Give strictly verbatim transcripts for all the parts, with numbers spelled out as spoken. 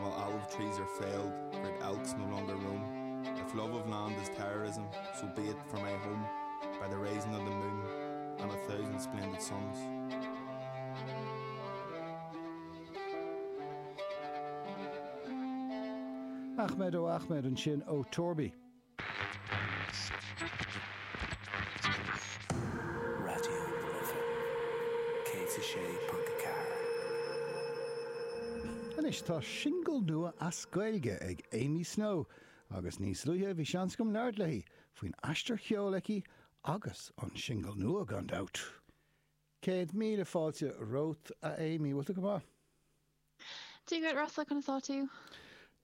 while olive trees are felled, great elks no longer roam. If love of land is terrorism, so be it for my home, by the rising of the moon and a thousand splendid suns. Ahmed O Ahmed ansin ó Torby. Raidió na Life céad a sé ponc a ceathair. Anois tá singil nua as Gaeilge ag Amy Snow agus níos luaithe bhí seans agam labhairt léi faoin aistear cheoil aici agus an singil nua gan dabht. Céad míle fáilte romhat a Amy, bhfuil tú go maith? Dia duit Rossa conas tá tú?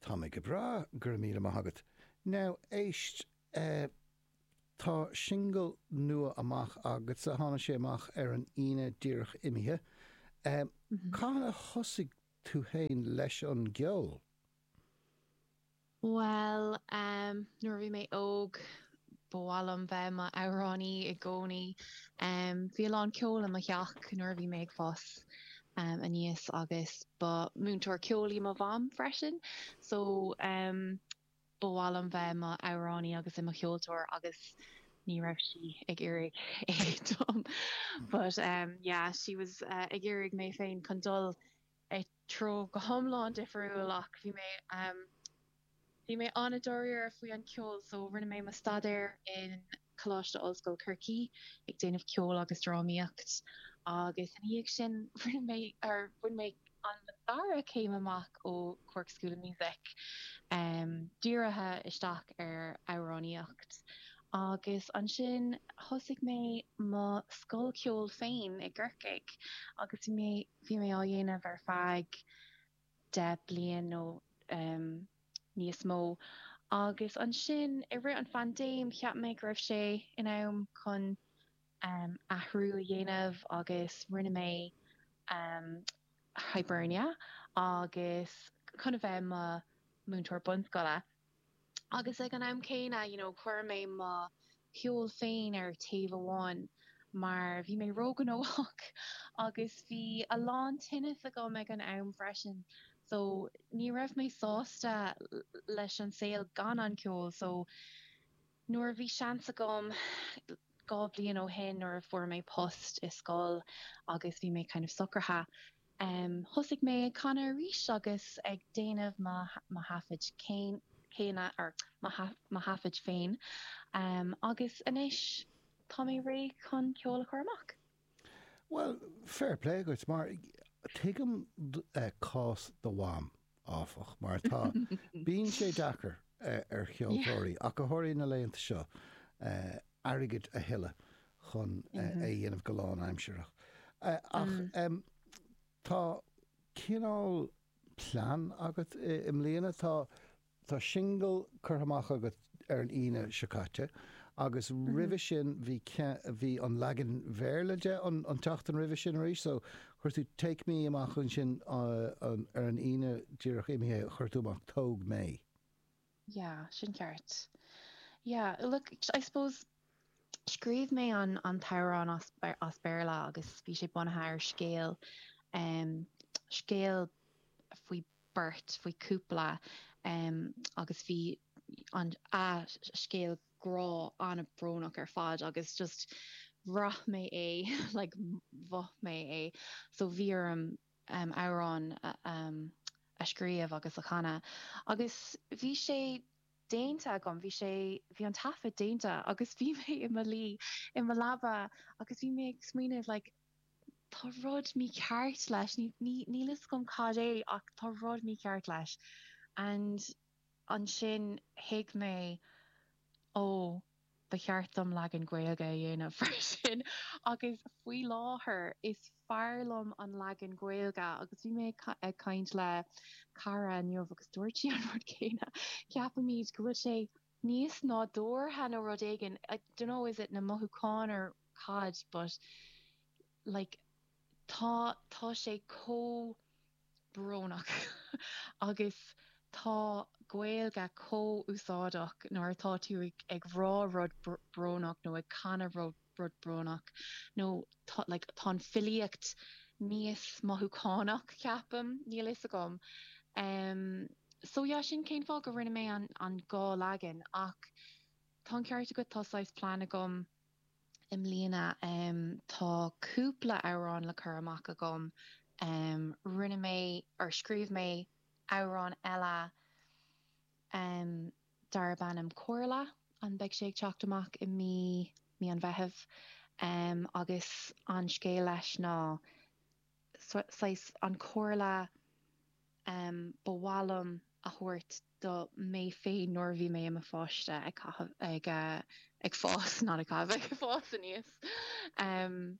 Tá mé go breá go raibh míle maith agat. Now éist eh, tá singil nua amach agatsa tháinig sé amach ar an Aoine díreach imithe. Eh, Cathain a thosaigh tú féin leis an gceol? Well, um, nuair a bhí mé óg ba mhaith liom bheith i m'amhránaí i gcónaí. Um, bhí a lán ceol i mo theach nuair a bhí mé ag fás um, aníos agus ba múinteoir ceoil í mo mham freisin. So um, ba mhaith liom bheith i m'amhránaí agus i mo cheoltóir agus ní raibh sí ag iarraidh é dom. But um, yeah, she was uh, ag iarraidh mé féin chun dul i treo go hiomlán difriúil ach bhí mé um, Bhí mé an-dáiríre faoi an ceol so rinne mé mo staidéar in Coláiste Ollscoile Chorcaí ag déanamh ceol agus drámaíocht agus ina dhiaidh sin rinne mé ar bhain mé an dara céim amach ó Cork School of Music um, dírithe isteach ar amhránaíocht. Agus ansin thosaigh mé mo scoil ceoil féin i gCorcaigh agus bhí mé bhí mé á dhéanamh ar feadh deich bliain nó um, níos mó. Agus ansin i rith an phaindéim cheap mé go raibh sé in am chun um, athrú a dhéanamh agus rinne mé um, Hibernia agus chun a bheith i mo múinteoir bunscoile. Agus ag an am céanna you know, chuir mé mo cheol féin ar taobh amháin mar bhí mé róghnóthach agus bhí a lán tinnis agam ag an am freisin. So ní raibh mé sásta leis an saol gan an ceol, so nuair a bhí seans agam dhá bhliain ó shin nuair a fuair mé post i scoil agus bhí mé kind of socraithe. Um, thosaigh mé ag canadh arís agus ag déanamh mo mo thaifid céin céanna ar mo thaifid féin um, agus anois tá mé réidh chun ceol a chur amach. Well, fair play duit mar tuigim uh, cás do mham áfach mar tá bíonn sé deacair uh, ar cheoltóirí ach go háirithe na laethanta seo uh, airgead a thuilleamh chun uh, mm -hmm. é dhéanamh go lánaimseartha. Uh, ach mm. um, tá cineál plean agat i, i mbliana tá tá singil curtha amach agat ar an Aoine seo caite agus mm -hmm. roimhe sin bhí bhí an leagan Béarla de an, an tseachtain roimhe sin arís, so chuir tú Take Me amach ansin uh, an, ar an Aoine díreach imithe chuir tú amach Tóg Mé. Yeah, sin ceart. Yeah, look, I suppose scríobh mé an an t-amhrán as, as Béarla agus bhí sé bunaithe ar scéal um, scéal faoi beirt faoi cúpla um, agus bhí an a scéal grá an-bhrónach ar fad agus just bhraith mé é like mhothaigh mé é so bhí orm um, amhrán um, a scríobh agus a chanadh agus bhí sé déanta agam bhí sé bhí an taifead déanta agus bhí mé i mo luí i mo leaba agus bhí mé ag smaoineamh like tá rud mícheart leis níl a fhios agam cad é ach tá rud mícheart leis and ansin thuig mé ó ba cheart dom leagan Gaeilge a dhéanamh freisin agus faoi láthair is fearr liom an leagan Gaeilge agus bhí mé ag caint le cara inniu agus dúirt sí an rud céanna ceapaimid go bhfuil sé níos nádúrtha nó rud éigin I don't know is it na mothúcháin or cad but like tá tá sé chomh brónach agus tá Gaeilge chomh úsáideach nuair atá tú ag, ag rá rud brónach nó ag canadh rud rud brónach nó tá like, tá an filíocht níos mothúchánach ceapaim níl fhios agam Um, so yeah, sin cén fáth go rinne mé an, an dhá leagan ach tá an ceart agat tá saghas plean agam i mbliana um, tá cúpla amhrán le cur amach agam um, rinne mé or scríobh mé amhrán eile um, darb ainm Comhairle an beidh sé ag teacht amach i mí mí an Mheithimh um, agus an scéal leis ná saghas an chomhairle um, ba mhaith liom a thabhairt do mé féin nuair bhí mé i mo pháiste ag caitheamh ag uh, ag fás ná ag caitheamh ag fás aníos. Um,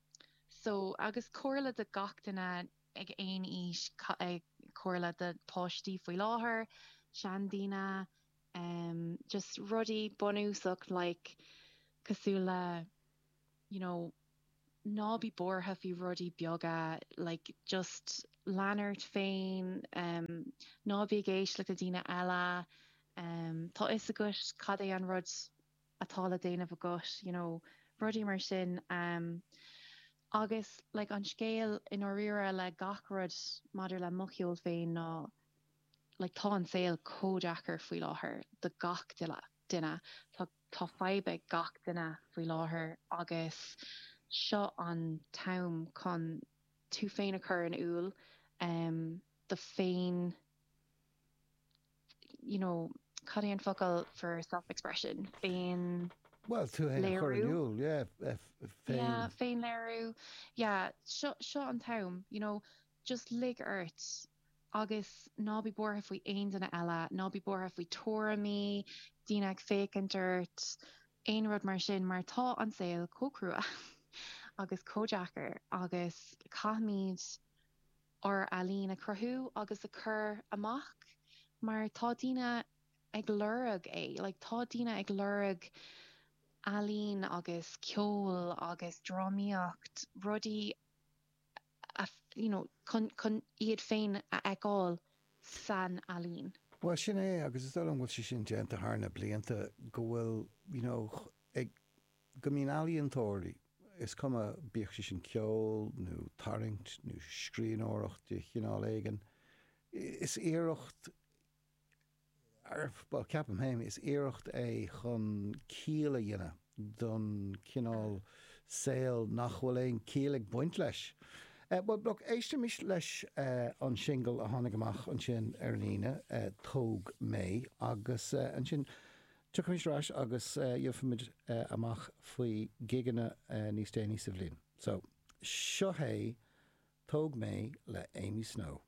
so agus comhairle do gach duine ag aon aois ag comhairle do páistí faoi láthair, seandaoine, um, just rudaí bunúsach like cosúil le you know, ná bí buartha faoi rudaí beaga like just lean ort féin um, ná bí ag éisteacht le daoine eile um, tá fhios agat cad é an rud atá le déanamh agat you know, rudaí mar sin um, agus like, an scéal i ndáiríre le gach rud maidir le mo cheol féin ná like, tá an saol chomh deacair faoi láthair do gach duine duine tá tá fadhb ag gach duine faoi láthair agus seo an t-am chun tú féin a chur in iúl um, do féin you know, cad é an focal for self-expression féin Well tú féin a chur in iúl yeah, féin yeah, féin léiriú yeah, seo seo an t-am you know, just lig ort agus ná bí buartha faoi aon duine eile, ná bí buartha faoi tuairimí, daoine ag féachaint ort, aon rud mar sin mar tá an saol chomh crua agus chomh deacair agus caithfimid ár ealaín a chruthú agus a chur amach mar tá daoine ag lorg é, like, tá daoine ag lorg ealaín agus ceol agus drámaíocht rudaí a, you know, chun, chun iad féin a fheiceáil san ealaín. Well sin é agus is dóigh liom bhfuil sé sin déanta thar na blianta go bhfuil you know, ag go mbíonn ealaíontóirí is cuma bíodh sé sin ceol nó tarraingt nó scríbhneoireacht de chineál éigin. Is iarracht ar well, ceapaim féin is iarracht é chun ciall a dhéanamh don cineál saol nach bhfuil aon chiall ag baint leis. Uh, well, look, éistimis leis uh, an single a tháinig amach ansin ar an Aoine uh, Tóg Mé agus uh, ansin tiocfaimis ar ais agus uh, gheobhaimid uh, amach faoi gigeanna uh, níos déanaí sa bhliain. So, seo é Tóg Mé le Amy Snow.